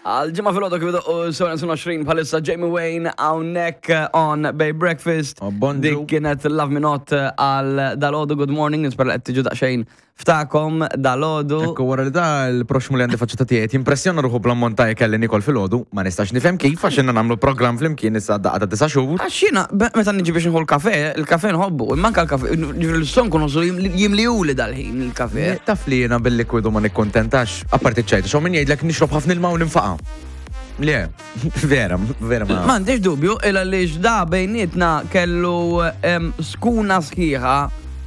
Għal ġimgħa filgħodu kif idoqqu 7:20 bħalissa Jamie Wayne hawnhekk on Bay Breakfast. Oh, bonġu. Dik kienet Love Me Not għal dalodu Good Morning, nispera li qed tiġu daqsxejn ftakom dalodu. Ekku wara li da l-proxmu li għandi faċċata tiegħi jimpressjona ruħu bl-ammont ta' ikel li nikol filgħodu, ma nistax nifhem kif għax inna nagħmlu programm flimkien issa daqqa ta' disa' xhur. Għax jiena meta niġi biex nieħu l-kafe, il-kafe nħobbu, imma anke l-kafe, ġifieri l-istonku nħossu jimliuli dal-ħin il-kafe. Taf li jiena bil-likwidu ma nikkuntentax, apparti ċ-ċajta, x'hawn min jgħidlek nixrob ħafna ilma u ninfaqa'. Le, vera, vera ma. M'għandix dubju, il għaliex da bejnietna kellu skuna sħiħa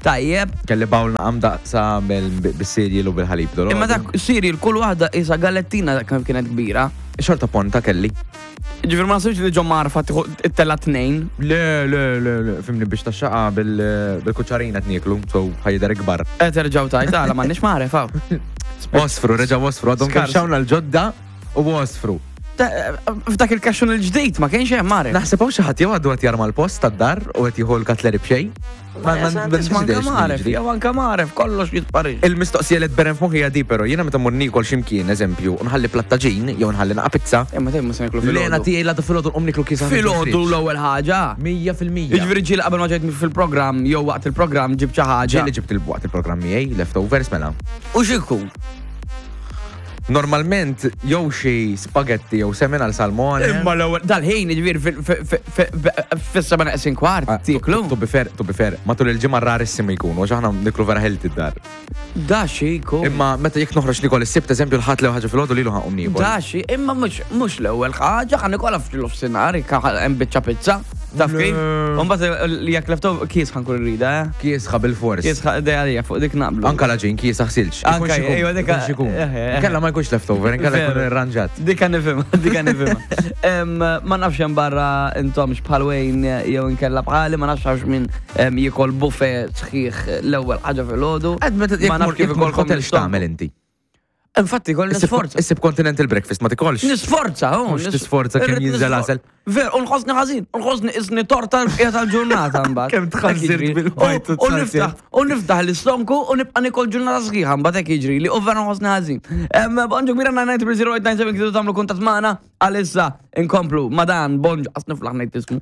tajjeb. Kelli bawl naqam daqsa bis-cereal u bil-ħalib dol. Imma dak cereal kull waħda isa galettina dak kemm kienet kbira. Xorta ponta kelli. Ġifieri ma nasibx li ġo marfa tieħu it-tella tnejn. Le, le, le, le, fimni biex tax-xaqa bil-kuċċarina tnieklu, so ħajder ikbar. Qed terġgħu tajt għala m'għandniex maref hawn. Osfru, reġa' osfru, għadhom kemm xawna l-ġodda U għosfru. F'dak il-kaxxun il-ġdid ma kienx hemm mare. Naħseb hawn xi ħadd jew għadu qed jarma l-post tad-dar u qed jieħu l-katleri b'xejn. Ma maref, jew anke maref, kollox jitpari. Il-mistoqsija li tberren f'moħħi hija di però jiena meta mmur niekol x'imkien, eżempju, nħalli platt għaġin jew nħalli naqa' pizza. Imma tgħid mhux se nieklu filgħodu. L-għena tiegħi l-għada filgħodu nqum nieklu kiesaħ. Filgħodu l-ewwel ħaġa. 100%. Jiġifieri ġieli qabel ma ġejt fil-programm jew waqt il-programm ġibt xi ħaġa. Ġieli ġibt waqt il-programm miegħi leftovers mela. U x'ikun? Normalment jew xi spagetti jew semen għal salmone. Imma l-ewwel dal-ħin jiġifieri fis-seba' neqsin kwart ah, tieklu. To be fair, to be fair, matul il-ġimgħa rarissimu jkunu għax aħna niklu vera healthy d-dar. Da xi jkun. Imma meta jekk noħroġ nikol is-sibt eżempju l-ħadd l ħaġa filgħodu lilu ħaqhom niekol. Da xi, imma mhux l-ewwel ħaġa ħa nikolha f'nofsinhar hemm biċċa pizza. Taf kif? Umbagħad jekk leftover kies ħankun irrida, eh? Kiesħa bil-fors. Kiesħa dejja fuq dik naqblu. Anka laġin kiesħa ħsilx. Anka ejwa dik xikun. Eh, eh, eh. Kella ma jkunx leftover, inkella jkun irranġat. Dika nifhimha, dika nifhimha. Ma nafx hemm barra intomx bħal Wayne jew inkella bħali, ma nafx għax min jikol buffet sħiħ l-ewwel ħaġa fil-ħodu. Ma nafx kif ikolkom hotel x'tagħmel inti. Infatti, kolli nisforza. Issib continental breakfast, ma tikolx. Nisforza, oh. Mux tisforza kemm jinżel għasel. Ver, u nħossni ħażin, u nħossni isni torta l-bqija tal-ġurnata mbagħad. Kemm tħażżirt bil-bajt U niftaħ, u niftaħ l-istonku u nibqa' nikol ġurnata sħiħa mbagħad hekk jiġri li u vera nħossni ħażin. Bonġu kbira 990 0897 kidu tagħmlu kuntatt magħna għalissa inkomplu ma dan bonġu qas niflaħ ngħid ismu.